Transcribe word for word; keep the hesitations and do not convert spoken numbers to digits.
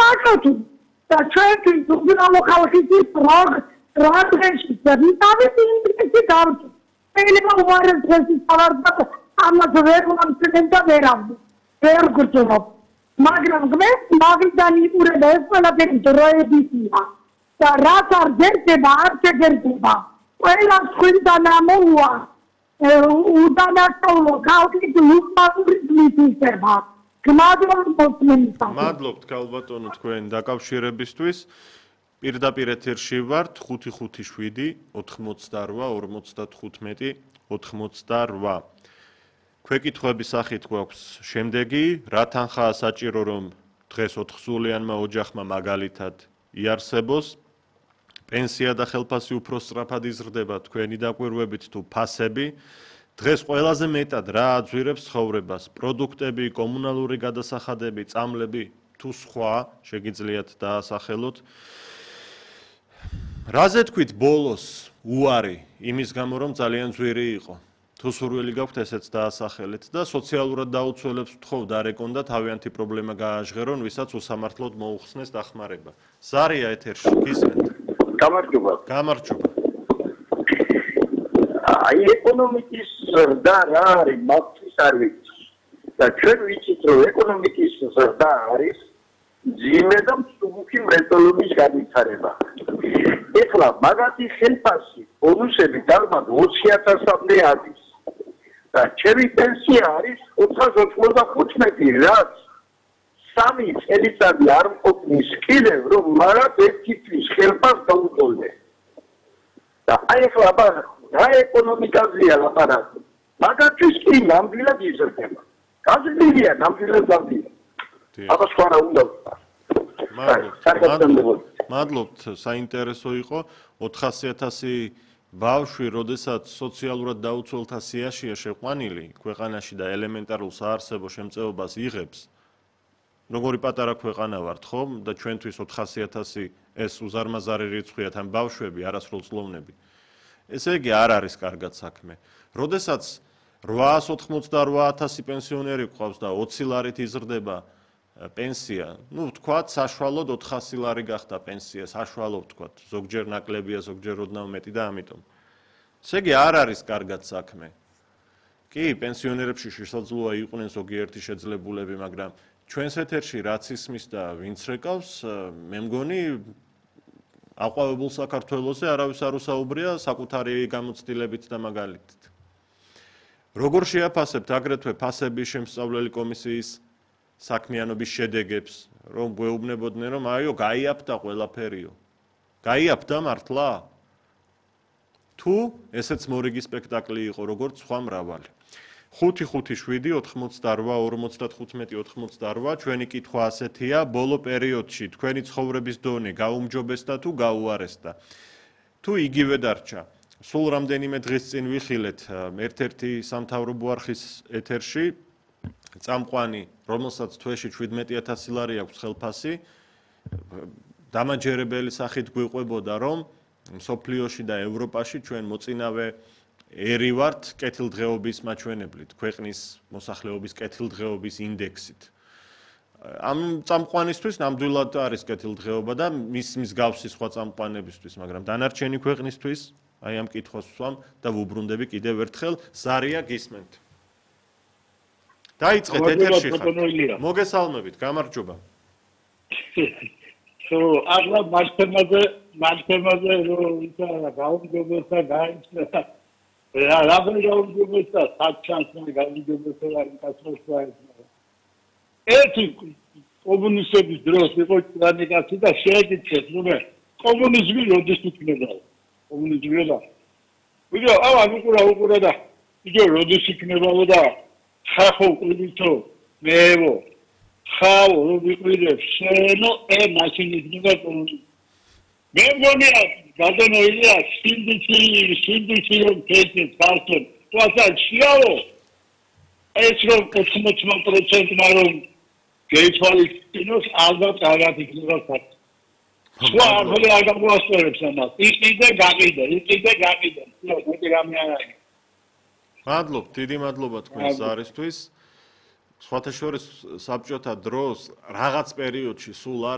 გააკეთე და ჩვენთვის უბრალო ხალხის პროგ პროგრესი და ვიტავით ინტერესი გავთ. შეიძლება უარეს დღეს ავარდა ამას ვერ მომწევენ და ვერავდი. ვერ გძნობ. მაგრამ გმეს მაგდან იპურება ეს ყველაფერი დროებისია. და რაც არ გერდება, არ შეგერდება. ყველა თქვენთან ამოუვა. უდანაშაულო ხალხის უკმაური მისება. გმადლობთ მომწონს. მადლობთ ქალბატონო თქვენ დაკავშირებისთვის. პირდაპირ ეთერში ვართ ხუთი ხუთი შვიდი ოთხმოცდარვა ორმოცდათხუთმეტი ოთხმოცდარვა. Ქვეკითხვების სახით გვაქვს შემდეგი, რა თანხაა საჭირო რომ დღეს ოთხსულიანმა ოჯახმა მაგალითად იარსებოს? პენსია და ხელფასი უფრო სწრაფად იზრდება თქვენი დაკვირვებით თუ ფასები? დღეს ყველაზე მეტად რა აძვირებს ცხოვრებას? პროდუქტები, კომუნალური გადასახადები, წამლები თუ სხვა შეგიძლიათ დაასახელოთ? რაზე თქვით ბოლოს უარი იმის გამო რომ ძალიან ძვირი იყო? თუ სურვილი გაქვთ ესეც დაასახელეთ და სოციალურად დაუცველებს ვთხოვ დარეკონ და თავიანთი პრობლემა გააჟღერონ, ვისაც უსამართლოდ მოუხსნეს დახმარება. ზარია ეთერში გისმენთ? გამარჯობა. გამარჯობა. აი ეკონომიკის ზრდა რა არის, მაგის არ ვიცი. და ჩვენ ვიცით რომ ეკონომიკის ზრდა არის ძიმე და მსუბუქი მრეწველობის განვითარება. ეხლა მაგათი ხელფასი, ბონუსები დალმად ოცი ათასამდე არის. და ჩემი პენსია არის ოთხას ოცდახუთმეტი, რაც სამი წელიწადი არ მყოფნის კიდევ რომ მაგათ ერთი თვის ხელფასს დაუწოლდე. და აი ეხლა აბარახ რა ეკონომიკაზეა ლაპარაკი. მაგათთვის კი ნამდვილად იზრდება. გაზრდილია ნამდვილად გაზრდილია. აბა სხვა რა უნდა ვთქვა. მადლობთ. მადლობთ, საინტერესო იყო. ოთხასი ათასი ბავშვი, როდესაც სოციალურად დაუცველთა სიაშია შეყვანილი, ქვეყანაში და ელემენტარულ საარსებო შემწეობას იღებს. Როგორი პატარა ქვეყანა ვართ, ხო? და ჩვენთვის ოთხასი ათასი ეს უზარმაზარი რიცხვია თან ბავშვები, არასრულწლოვნები. ესე იგი არ არის კარგად საქმე. როდესაც რვაას ოცდაოთხ ათასი პენსიონერი გვყავს და ოცი ლარით იზრდება პენსია, ну, ვთქვათ, საშუალოდ ოთხასი ლარი გახდა პენსია, საშუალოდ ვთქვათ, ზოგჯერ ნაკლებია, ზოგჯერ ოდნავ მეტი და ამიტომ. ესე იგი არ არის კარგად საქმე. კი, პენსიონერებში შესაძლოა იყვნენ ზოგიერთი შეძლებულები, მაგრამ ჩვენს ეთერში რაც ისმის და ვინც რეკავს, მე მგონი აყვავებულ საქართველოზე არავის არ უსაუბრია საკუთარი გამოცდილებით და მაგალითით. როგორ შეაფასებთ აგრეთვე ფასების შემსწავლელი კომისიის საქმიანობის შედეგებს, რომ გვეუბნებოდნენ, რომ აიო, გაიაფთა ყველაფერიო. გაიაფთა მართლა? თუ ესეც მორიგი სპექტაკლი იყო, როგორც სხვა მრავალი. ხუთი ხუთი შვიდი ოთხმოცდარვა ორმოცდათხუთმეტი ოთხმოცდარვა ჩვენი კითხვა ასეთია, ბოლო პერიოდში თქვენი ცხოვრების დონე გაუმჯობესდა თუ გაუარესდა? თუ იგივე დარჩა? სულ რამდენიმე დღის წინ ვიხილეთ ერთ-ერთი სამთავრობო არხის ეთერში წამყვანი, რომელსაც თვეში შვიდმეტი ათასი ლარი აქვს ხელფასი, დამაჯერებელი სახით გვიყვებოდა, რომ მსოფლიოში და ევროპაში ჩვენ მოწინავე ერი ვართ კეთილდღეობის მაჩვენებლით, ქვეყნის მოსახლეობის კეთილდღეობის ინდექსით. ამ წამყვანისთვის ნამდვილად არის კეთილდღეობა და მის მსგავსი სხვა წამყვანებისთვის, მაგრამ დანარჩენი ქვეყნისთვის აი ამ კითხვას ვსვამ და ვუბრუნდები კიდევ ერთხელ, ზარია გისმენთ. დაიწყეთ ეთერში ხარ. მოგესალმებით, გამარჯობა. ხო, ახლა მასთემაზე, მასთემაზე რომ ისა გაუმჯობესდა, გაიცნო. რა რა გაუმჯობესდა, საჩანსი გაუმჯობესდა ინკასროსა. ერთი კომუნისტების დროს იყო ტრანიკაცი და შეეკითხეთ, რომ კომუნიზმი როდის იქნება? კომუნიზმი რა? ვიდეო, ავა უკურა უკურა და ვიდეო როდის იქნებაო და ხახო ყიდითო მეო ხაო რუბიყვირებს შენო ე მაშინ იქნება კომუნიზმი. მე მგონია გადანოილია სინდიცი სინდიცი რომ ქეცეს ფასტონ თვალსა შეაო ეს რომ ოცდაოთხ პროცენტი მარომ გეითვალისწინოს ალბათ კარგად იქნება ფაქტი. სხვა არაფერი არ გამოასწორებს ამას. იყიდე გაყიდე, იყიდე გაყიდე. ნუ მეტი რამე არ არის. მადლობთ, დიდი მადლობა თქვენს ზარისთვის. სხვათა შორის საბჭოთა დროს რაღაც პერიოდში სულ